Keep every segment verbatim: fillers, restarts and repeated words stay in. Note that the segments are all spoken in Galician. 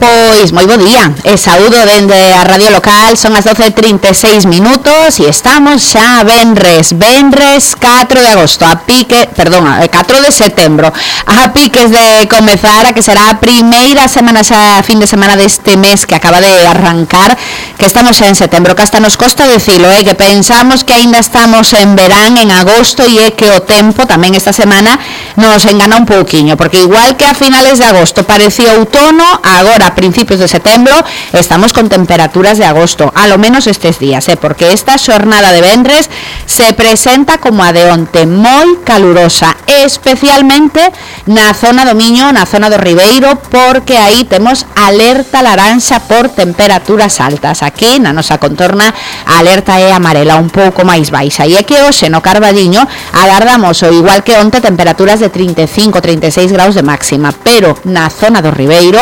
Pois moi bo día e saúdo dende a radio local. Son as doce e trinta e seis minutos e estamos xa venres, venres catro de agosto, a pique, perdón, catro de setembro, a piques de comezar a que será a primeira semana xa fin de semana deste mes que acaba de arrancar, que estamos xa en setembro, que hasta nos costa decilo, eh, que pensamos que aínda estamos en verán, en agosto, e é que o tempo tamén esta semana nos engana un pouquiño, porque igual que a finales de agosto parecía outono, agora a principios de setembro estamos con temperaturas de agosto, a lo menos estes días, eh, porque esta xornada de vendres se presenta como a de onte, moi calurosa, especialmente na zona do Miño, na zona do Ribeiro, porque aí temos alerta laranxa por temperaturas altas. Aquí na nosa contorna a alerta é amarela, un pouco máis baixa, e é que hoxe no Carballiño agardamos, o igual que onte, temperaturas de trinta e cinco, trinta e seis graus de máxima, pero na zona do Ribeiro,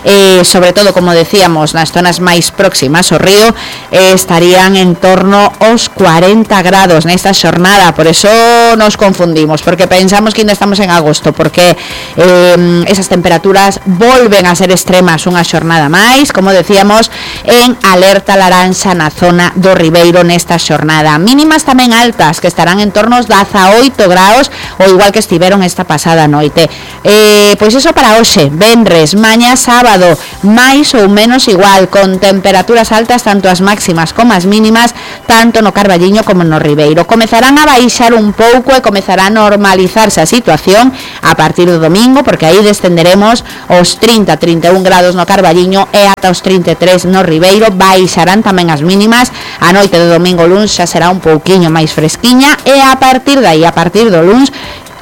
eh, sobre todo, como decíamos, nas zonas máis próximas ao río, eh, estarían en torno aos cuarenta grados nesta xornada. Por eso nos confundimos, porque pensamos que ainda estamos en agosto, porque eh, esas temperaturas volven a ser extremas unha xornada máis, como decíamos, en alerta laranxa na zona do Ribeiro nesta xornada. Mínimas tamén altas, que estarán en torno aos dezaoito graus, ou igual que estiveron esta pasada noite. Eh, pois iso para hoxe, venres, mañá sábado, máis ou menos igual, con temperaturas altas tanto as máximas como as mínimas, tanto no Carballiño como no Ribeiro. Comezarán a baixar un pouco e comezará a normalizarse a situación a partir do domingo, porque aí descenderemos os trinta, trinta e un grados no Carballiño e ata os trinta e tres no Ribeiro. Baixarán tamén as mínimas, a noite do domingo luns xa será un pouquiño máis fresquiña, e a partir de aí, a partir do luns,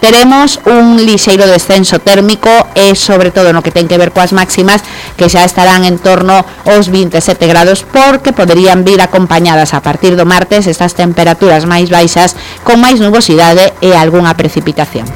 teremos un lixeiro descenso térmico e sobre todo no que ten que ver coas máximas, que xa estarán en torno aos vinte e sete grados, porque poderían vir acompañadas a partir do martes estas temperaturas máis baixas con máis nubosidade e algunha precipitación.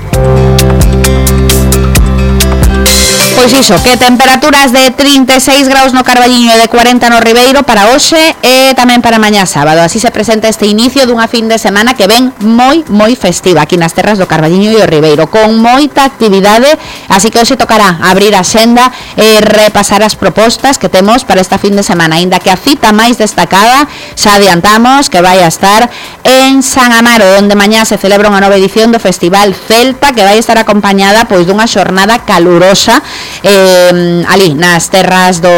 Pois iso, que temperaturas de trinta e seis graus no Carballiño e de cuarenta no Ribeiro para hoxe e tamén para mañá sábado. Así se presenta este inicio dunha fin de semana que ven moi, moi festiva aquí nas terras do Carballiño e o Ribeiro, con moita actividade, así que hoxe tocará abrir a xenda e repasar as propostas que temos para esta fin de semana, aínda que a cita máis destacada xa adiantamos que vai a estar en San Amaro, onde mañá se celebra unha nova edición do Festival Celta, que vai estar acompañada pois dunha xornada calurosa Eh, ali nas terras do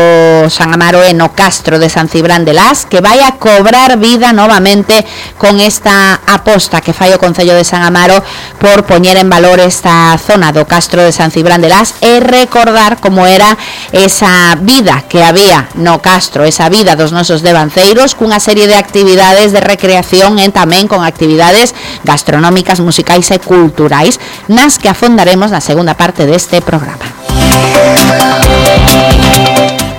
San Amaro e no Castro de San Cibrán de Las, que vai a cobrar vida novamente con esta aposta que fai o Concello de San Amaro por poñer en valor esta zona do Castro de San Cibrán de Las e recordar como era esa vida que había no Castro, esa vida dos nosos devanceiros, cunha serie de actividades de recreación e tamén con actividades gastronómicas, musicais e culturais, nas que afondaremos na segunda parte deste programa.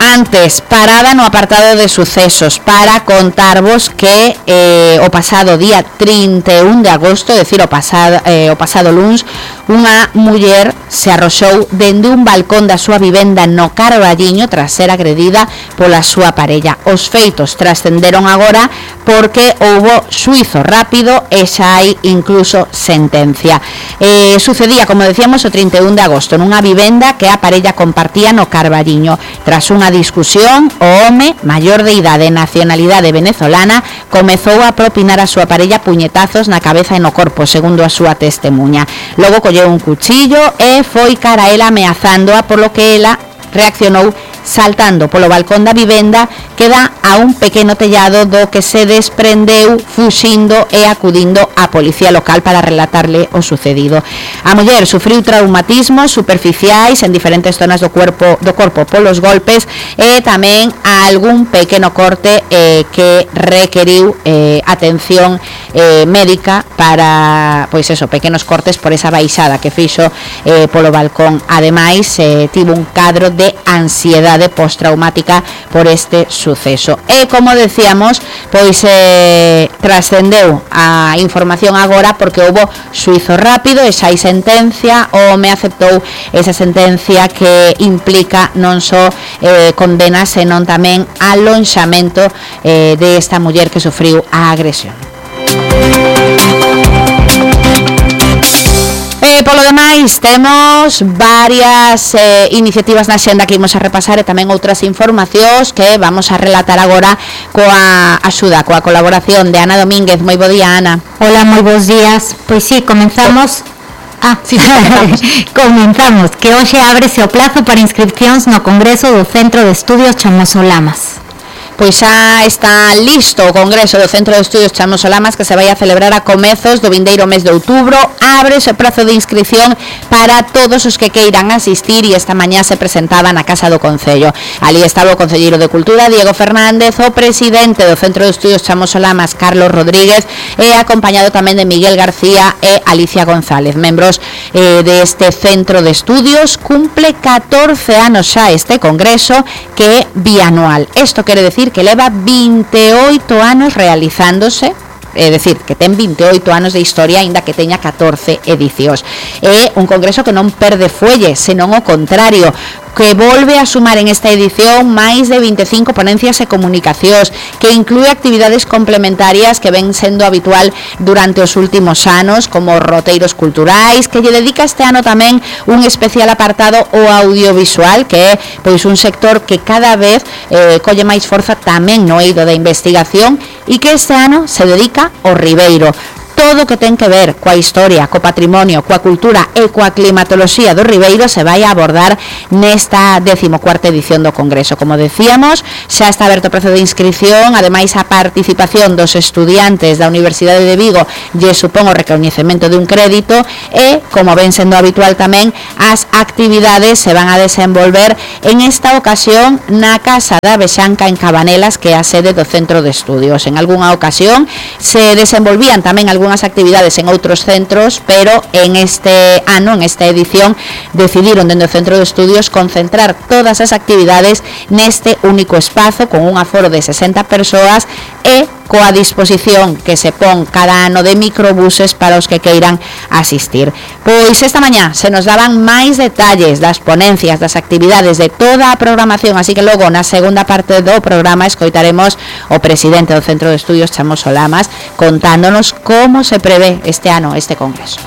Antes, parada no apartado de sucesos para contarvos que eh, o pasado día trinta e un de agosto, é dicir, o pasado, eh, o pasado luns, unha muller se arroxou dende un balcón da súa vivenda no Carballiño tras ser agredida pola súa parella. Os feitos trascenderon agora porque houbo xuizo rápido e xa hai incluso sentencia. Eh, sucedía, como decíamos, o trinta e un de agosto nunha vivenda que a parella compartía no Carballiño. Tras unha discusión, o home, maior de idade e nacionalidade venezolana, comezou a propinar a súa parella puñetazos na cabeza e no corpo, segundo a súa testemunha. Logo colleu un cuchillo e foi cara a ela ameazándoa, polo que ela reaccionou saltando polo balcón da vivenda que dá a un pequeno tellado, do que se desprendeu fuxindo e acudindo á policía local para relatarle o sucedido. A muller sufriu traumatismos superficiais en diferentes zonas do corpo do corpo polos golpes e tamén algún pequeno corte eh, que requeriu eh, atención eh, médica para, pois eso, pequenos cortes por esa baixada que fixo eh, polo balcón. Ademais, eh, tivo un cadro de ansiedade postraumática por este suceso. E como decíamos, pois eh, trascendeu a información agora porque houbo xuizo rápido e xa hai sentencia. O home aceptou esa sentencia que implica non só eh, condena, senón tamén alonxamento eh, de esta muller que sufriu a agresión. E polo demais temos varias eh, iniciativas na xenda que imos a repasar e tamén outras informacións que vamos a relatar agora coa axuda, coa colaboración de Ana Domínguez. Moi bo día, Ana. Hola, moi bons días. Pois sí, comenzamos... Ah, sí, comenzamos. comenzamos, que hoxe ábrese o plazo para inscripcións no Congreso do Centro de Estudios Chamosolamas. Pois xa está listo o Congreso do Centro de Estudios Chamosolamas, que se vai a celebrar a comezos do vindeiro mes de outubro. Abre o prazo de inscripción para todos os que queiran asistir e esta mañá se presentaba na Casa do Concello. Ali estaba o Concelleiro de Cultura, Diego Fernández, o presidente do Centro de Estudios Chamosolamas, Carlos Rodríguez, e acompañado tamén de Miguel García e Alicia González, membros eh, deste Centro de Estudios. Cumple catorce anos xa este Congreso, que é bianual. Isto quere decir que leva vinte e oito anos realizándose, é dicir, que ten vinte e oito anos de historia, aínda que teña catorce edicións. É un congreso que non perde fuelle, senón o contrario, que volve a sumar en esta edición máis de vinte e cinco ponencias e comunicacións, que inclúe actividades complementarias que ven sendo habitual durante os últimos anos, como roteiros culturais, que lle dedica este ano tamén un especial apartado ao audiovisual, que é pois un sector que cada vez eh, colle máis forza tamén no eido da investigación, e que este ano se dedica ao Ribeiro. Todo o que ten que ver coa historia, co patrimonio, coa cultura e coa climatoloxía do Ribeiro se vai a abordar nesta decimocuarta edición do Congreso. Como decíamos, xa está aberto o prazo de inscripción, ademais a participación dos estudiantes da Universidade de Vigo lle supón o recoñecemento de un crédito e, como ven sendo habitual tamén, as actividades se van a desenvolver en esta ocasión na Casa da Vexanca en Cabanelas, que é a sede do Centro de Estudios. En algunha ocasión se desenvolvían tamén algún as actividades en outros centros, pero en este ano, en esta edición, decidiron dende o Centro de Estudios concentrar todas as actividades neste único espazo, con un aforo de sesenta persoas e coa disposición que se pon cada ano de microbuses para os que queiran asistir. Pois esta mañá se nos daban máis detalles das ponencias, das actividades, de toda a programación, así que logo na segunda parte do programa escoitaremos o presidente do Centro de Estudios Chamosolamas contándonos como se prevé este ano este congreso.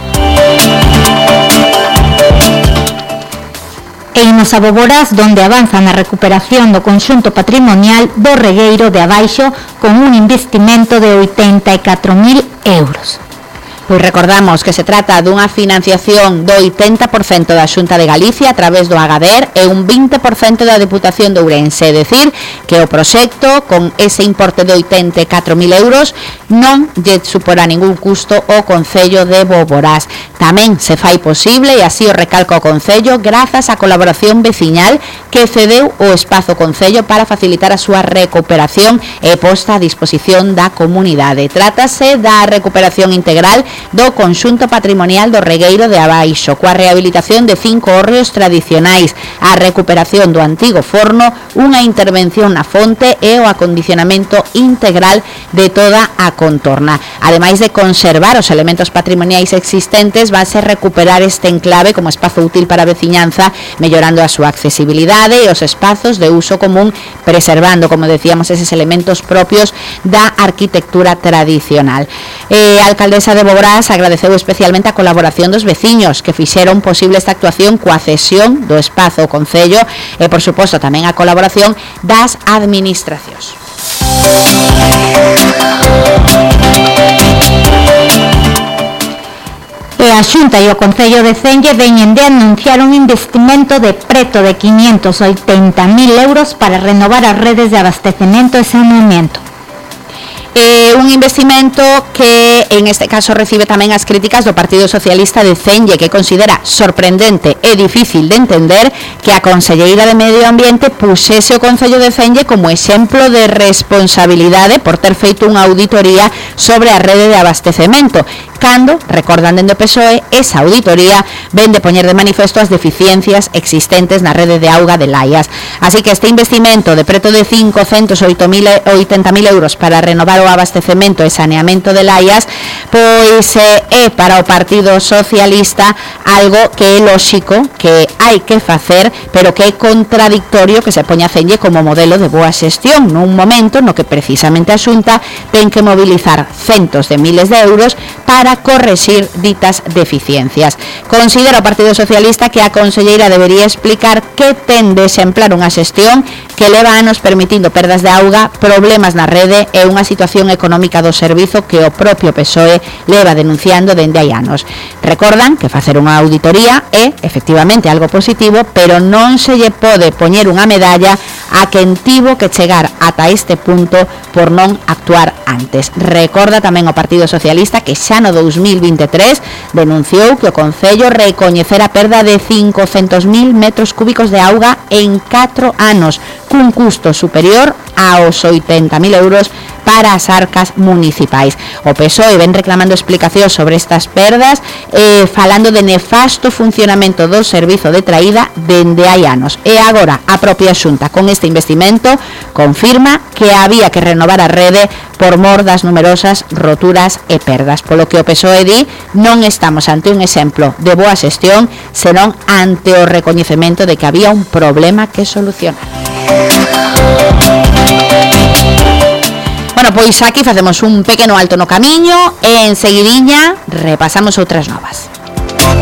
E imos a Boborás, donde avanzan a recuperación do conxunto patrimonial do Regueiro de Abaixo con un investimento de oitenta e catro mil euros. Pois recordamos que se trata dunha financiación do oitenta por cento da Xunta de Galicia a través do Agader e un vinte por cento da Deputación de Ourense, é dicir, que o proxecto, con ese importe de oitenta e catro mil euros, non lle suporá ningún custo ao Concello de Boborás. Tamén se fai posible, e así o recalca o Concello, grazas á colaboración veciñal que cedeu o espazo Concello para facilitar a súa recuperación e posta a disposición da comunidade. Trátase da recuperación integral do conxunto patrimonial do Regueiro de Abaixo, coa rehabilitación de cinco hórreos tradicionais, a recuperación do antigo forno, unha intervención na fonte e o acondicionamento integral de toda a contorna. Ademais de conservar os elementos patrimoniais existentes, vanse recuperar este enclave como espazo útil para a veciñanza, mellorando a súa accesibilidade e os espazos de uso común, preservando, como decíamos, eses elementos propios da arquitectura tradicional. Eh, a alcaldesa de Boborás agradeceu especialmente a colaboración dos veciños que fixeron posible esta actuación coa cesión do espazo ao Concello e, por suposto, tamén a colaboración das administracións. E a Xunta e o Concello de Celle veñen de anunciar un investimento de preto de quinientos oitenta mil euros para renovar as redes de abastecemento e saneamento. Eh, un investimento que en este caso recibe tamén as críticas do Partido Socialista de Celle, que considera sorprendente e difícil de entender que a Conselleira de Medio Ambiente pusese o Concello de Celle como exemplo de responsabilidade por ter feito unha auditoría sobre a rede de abastecemento, cando, recordan dende o P S O E, esa auditoría ven de poñer de manifesto as deficiencias existentes na rede de auga de Laias. Así que este investimento de preto de cincocentos oitenta mil euros para renovar o abastecemento e saneamento de Laias pois eh, é para o Partido Socialista algo que é lóxico que hai que facer, pero que é contradictorio que se poña a cenlle como modelo de boa xestión nun momento no que precisamente a Xunta ten que mobilizar centos de miles de euros para correxir ditas deficiencias. Considera o Partido Socialista que a conselleira debería explicar que ten de exemplar unha xestión que leva anos permitindo perdas de auga, problemas na rede e unha situación económica do servizo que o propio P S O E leva denunciando dende hai anos. Recordan que facer unha auditoría é efectivamente algo positivo, pero non se lle pode poñer unha medalla a quen tivo que chegar ata este punto por non actuar antes. Recorda tamén o Partido Socialista que xa no dous mil vinte e tres denunciou que o Concello recoñecera a perda de cincocentos mil metros cúbicos de auga en catro anos, cun custo superior aos oitenta mil euros para as arcas municipais. O P S O E ven reclamando explicacións sobre estas perdas, eh, falando de nefasto funcionamento do servizo de traída dende hai anos. E agora a propia Xunta, con este investimento, confirma que había que renovar a rede por mor das numerosas roturas e perdas. Polo que o P S O E di, non estamos ante un exemplo de boa xestión, senón ante o recoñecemento de que había un problema que solucionar. Bueno, pois aquí facemos un pequeno alto no camiño e enseguidiña repasamos outras novas.